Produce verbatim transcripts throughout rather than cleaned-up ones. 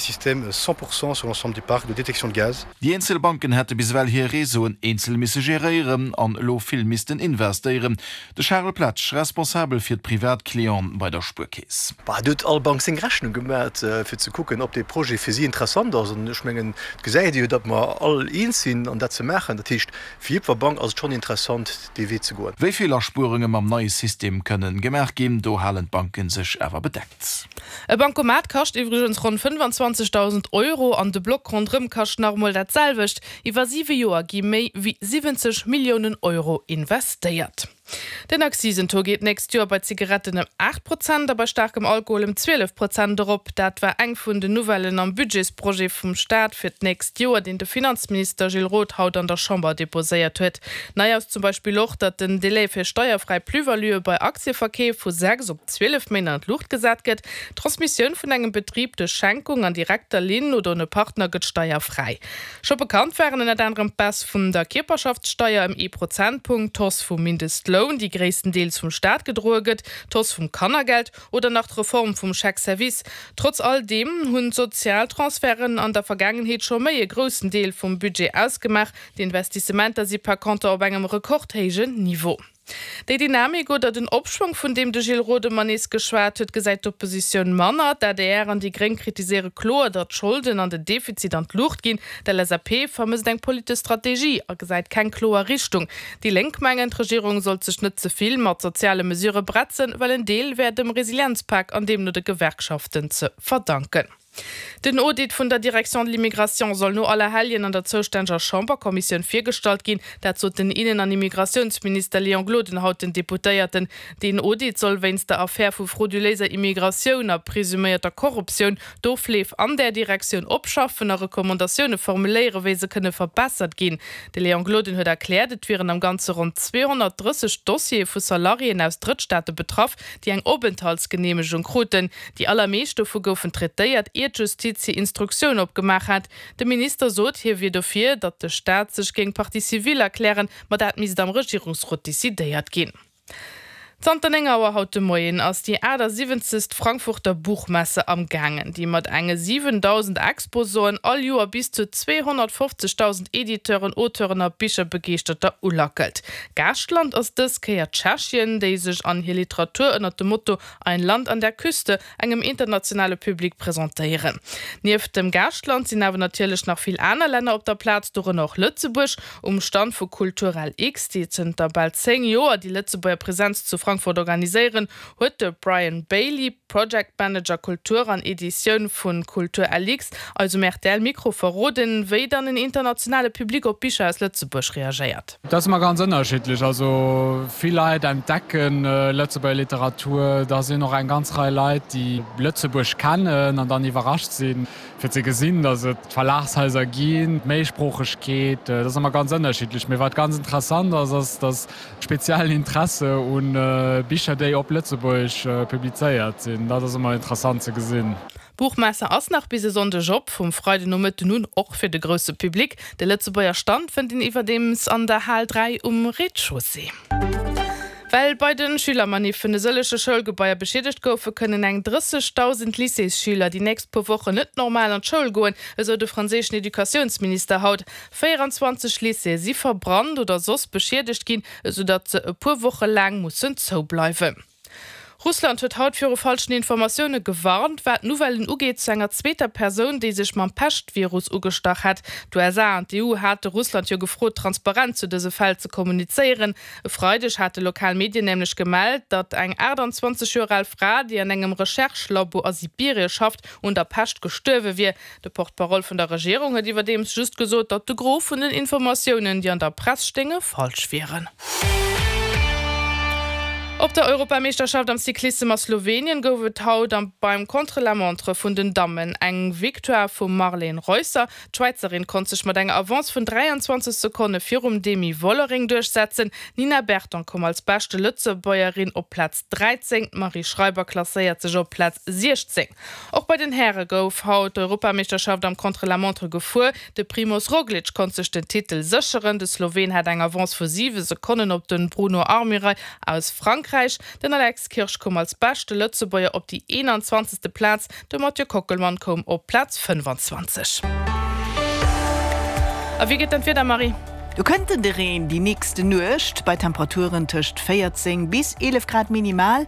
Système cent pour cent sur l'ensemble du parc de détection de gaz. Déi eenzel Banken hätte bis ewell hir Réseauen eenzel misse geréieren an elo vill missten investéieren. De Charel Pletsch, Responsabel fir d'Privatclienten bei der Spuerkeess. Bah, do huet all Bank seng Rechnung gemat, fir ze kucken, ob dee Projet fir si interessant ass. An ech mengen, et gesäit ee jo, datt mer all eens sinn, an dat ze maachen. Dat heescht, fir jiddwer Bank ass et schonn interessant, dee Wee ze goen. Wéi vill Aspuerunge mam neie System kënnen gemaach ginn, do halen d'Banke sech awer bedeckt. E Bancomat kascht iwwregens ronn fënnfanzwanzegdausend Euro an de Block ronderëm kascht nach emol dat selwecht. Iwwer siwe Joer gi méi wéi siwwenzeg Milliounen Euro investéiert. Den Akzisentaux geet d'nächst Joer bei Zigaretten ëm aacht Prozent a bei staarkem Alkohol ëm zwielef Prozent erop. Dat war eng vun den Nouvellen am Budgetsprojet vum Staat fir d'nächst Joer, deen de Finanzminister Gilles Roth haut an der Chamber deposéiert huet. Nei ass zum Beispill och, datt den Delai fir steierfräi Plus-valuë bei Aktieverkeef vu sechs op zwielef Méint an d'Luucht gesat gëtt. D'Transmissioun vun engem Betrib duerch Schenkung an direkter Linn oder un e Partner gëtt steierfräi. Scho bekannt waren ënnert anerem d'Baisse vun der Kierperschaftssteier ëm ee Prozentpunkt, d'Hausse vum Mindestloun, déi gréisstendeels vum Staat gedroe gëtt, d'Hausse vum Kannergeld oder nach d'Reform vum Chèque-service. Trotz all deem hunn d'Sozialtransferten an der Vergaangenheet scho méi e groussen Deel vum Budget ausgemaach. D'Investissementer si par conter op engem rekordhéijen Niveau. Déi Dynamik oder den Opschwong, vun deem de Gilles Roth ëmmer nees geschwat huet, gesäit d'Oppositioun manner. D'adr an déi Gréng kritiséiere kloer, datt d'Scholden an den Defizit an d'Luucht ginn. D'LSAP vermësst eng politesch Strategie a gesäit keng kloer Richtung. Déi Lénk mengen, d'Regierung sollt sech net ze vill mat soziale Mesure bretzen, well en Deel wär dem Resilienzpak an deemno de Gewerkschaften ze verdanken. Den Audit vun der Direction de l'immigration soll no Allerhelljen an der zoustänneger Chamberkommissioun virgestallt ginn. Dat sot den Innen an Immigratiounsminister Léon Gloden haut den Deputéierten. Deen Audit soll wéinst der Affär vu frauduléiser Immigratioun a presuméierter Korruptioun d'Ofleef an där Direktioun opschaffen a Recommandatioune formuléieren, wéi se kënne verbessert ginn. De Léon Gloden huet erkläert, et wieren am Ganze ronn zweehonnertdrësseg Dossiere vu Salariéen aus Drëttstaate betraff, déi eng Openthaltsgeneemegung kruten. Déi allermeescht dovu goufen traitéiert, ier d'Justiz hir Instruktioun opgemaach hat. De Minister sot, hie wier dofir, datt de Staat sech géing Partie civile erklären, ma dat misst am Regierungsrot decidéiert ginn. Zanter néng Auer haut de Moien ass déi achtasiwwenzegst Frankfurter Buchmesse am gaangen, déi mat enge siwendausend Exposanten all Joer bis zu zweehonnertfofzegdausend Editeuren, Auteuren a Bicherbegeeschterter ulackelt. Gaaschtland ass dës Kéier Tschechien, déi sech an hir Literatur ënnert dem Motto Ein Land an der Küste engem internationale Public presentéieren. Nieft dem Gaaschtland sinn awer natierlech nach vill aner Länner op der Plaz, dorënner och Lëtzebuerg. Um Stand vu Kulturlx, déi zënter bal zéng Joer déi Lëtzebuerger Presenz zu Frankfurt organiséieren, huet de Brian Bailey, Project Manager Kultur an Editioun vu Kulturlx, eis um R T L-Mikro verroden, wéi dann en internationale Public op Bicher aus Lëtzebuerg reagéiert. Dat ass ëmmer ganz ënnerschiddlech. Also vill Leit entdecken Lëtzebuerger Literatur. Da sinn och eng ganz Rei Leit, déi Lëtzebuerg kennen an dann iwwerrascht sinn, fir ze gesinn, datt et Verlagshaiser ginn, d'Méisproochegkeet. Dat ass ëmmer ganz ënnerschiddlech. Mee wat ganz interessant ass, ass, datt speziellen Interesse un Bicher, déi op Lëtzebuergesch publizéiert sinn. Dat ass ëmmer interessant ze gesinn. D'Buchmesse ass nach bis e Sonndeg op, vum Freidenomëtten un och fir de grousse Public. De Lëtzebuerger Stand fënnt een iwwerdeems an der Hal dräi um Rez-de-chaussée. Well bei de Schülermaniffen e sëllege Schoulgebaier beschiedegt goufen, kënnen eng drëssegdausend Lycéesschüler déi nächst puer Wochen net normal an d'Schoul goen, esou de franséischen Educatiounsminister haut. véieranzwanzeg Lycéeë si verbrannt oder soss beschiedegt ginn, esou datt se e puer Woche laang mussen zoubleiwen. Russland huet haut viru falschen Informatioune gewarnt, wat Nouvellen ugeet zu enger zweeter Persoun, déi sech mam Pescht-Virus ugestach hätt. D'U S A an d'E U hate Russland jo gefrot, transparent zu dëse Fäll ze kommunizéieren. E Freideg hate lokal Medien nämlech gemellt, datt eng aachtanzwanzeg Joer al Fra, déi an engem Recherche-Labo a Sibirie schafft, un der Pescht gestuerwe wier. De Porte-parole vun der Regierung huet iwwerdeems just gesot, datt de Gros vun den Informatiounen, déi an der Press stéinge, falsch wieren. Op der Europameeschterschaft am Cyclissem a Slowenien gouf et haut am beim Contre-la-montre vun den Dammen eng Victoire vum Marlen Reusser. D'Schwäizerin konnt sech mat enger Avance vun dräianzwanzeg Sekonne virum Demi Vollering duerchsetzen. D'Nina Berton koum als beschte Lëtzebuergerin op Plaz dräizéng, d'Marie Schreiber klasséiert sech op Plaz siechzéng. Och bei den Häre gouf haut d'Europameeschterschaft am Contre-la-montre gefuer. De Primoz Roglic konnt sech den Titel sécheren. De Sloween hat eng Avance vu siwe Sekonnen op de Bruno Armirail aus Frankräich. Frankräich. Den Alex Kirsch koum als beschte Lëtzebuerger op déi eenanzwanzegste Plaz, de Mathieu Kockelmann koum op Plaz fënnfanzwanzeg. A wéi geet dann d'Wieder, Marie? Do kënnt de Reen déi nächste Nuecht bei Temperaturen tëscht véierzéng bis eelef Grad minimal.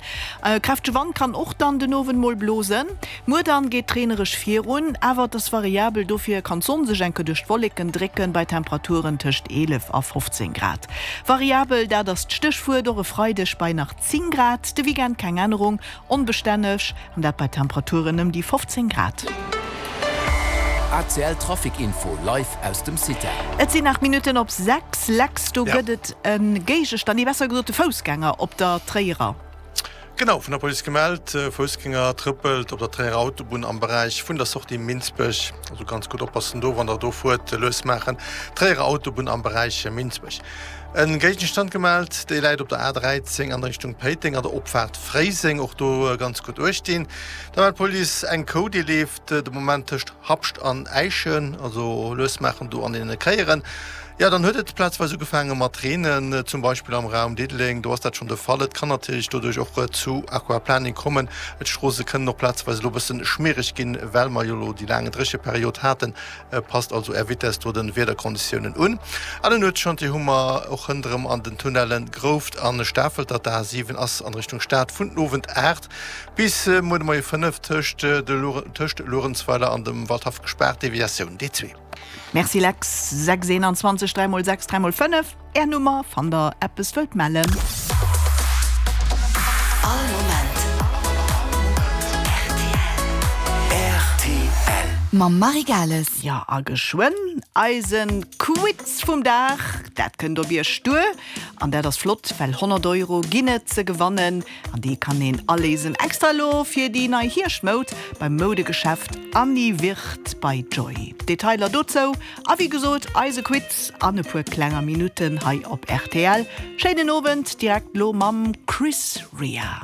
Kräftege Wand kann och dann den Owend mol blosen. Muer dann geet d'reenereg virun, awer et ass variabel, dofir kann d'Sonn sech enke duerch d'Wolleken drécken bei Temperaturen tëscht eelef a fofzéng Grad. Variabel, dat ass d'Stéchwuert och e Freideg bei nach zéng Grad. De Weekend keng Ännerung, onbestänneg an dat bei Temperaturen ëm déi fofzéng Grad. A C L Trafic Info live aus dem CITEL. Et sinn aacht Minutten op sechs. Lex, do gëtt et e Géigestand, nee besser gesot e Foussgänger op der Tréierer. Genau, vun der Police gemellt, Foussgänger trëppelt op der Tréierer Autobunn am Beräich vun der Sortie Minsbech. Also ganz gutt oppassen do, wann der do fuert, lues maachen. Tréierer Autobunn am Beräich Minsbech. E Géigestand gemellt, dee läit op der A dräizéng an Richtung Péiteng an der Opfaart Fréiseng, och do ganz gutt uecht dinn. Da mellt d'Police eng Kou, déi leeft de Moment tëscht Habscht an Äischen, also lues maachen do an deene Kéieren. Jo, dann huet et plazweis ugefaange mat reenen, zum Beispill am Raum Diddeleng, do ass dat schonn de Fall. Et kann natierlech doduerch och zu Aquaplaning kommen. D'Stroosse kënnen och plazweis elo e bësse schmiereg ginn, well mer jo elo déi laang Drécheperiod haten. Passt also Är Vitess do de Wiederkonditiounen un. An en Nuetschantier hu mer och hënt erëm an den Tunnellen Grouft an Stafelter. D'A siwen ass an Richtung Stad vun den Owend aacht bis muer de Moie fënnef tëscht tëscht Luerenzweiler an dem Waldhaff gespaart, Deviatioun D zwee. Merci Lex. Sechs eenanzwanzeg dräi mol sechs dräi mol fënnef, Är Nummer, wann der eppes wëllt mellen. All Moment rtl. Mam Marie Gales. Jo, a geschwënn eise Quiz vum Dag, dat kënnt op Iech duer. An dat ass flott, well honnert Euro ginn et ze gewannen an déi kann een aléisen extra elo fir déi nei Hierschtmoud beim Moudegeschäft Annie Wirth bei Joy. Detailer dozou a wéi gesot eise Quiz an e puer klenger Minutten hei op rtl. Schéinen Owend, direkt lo mam Chris Rea.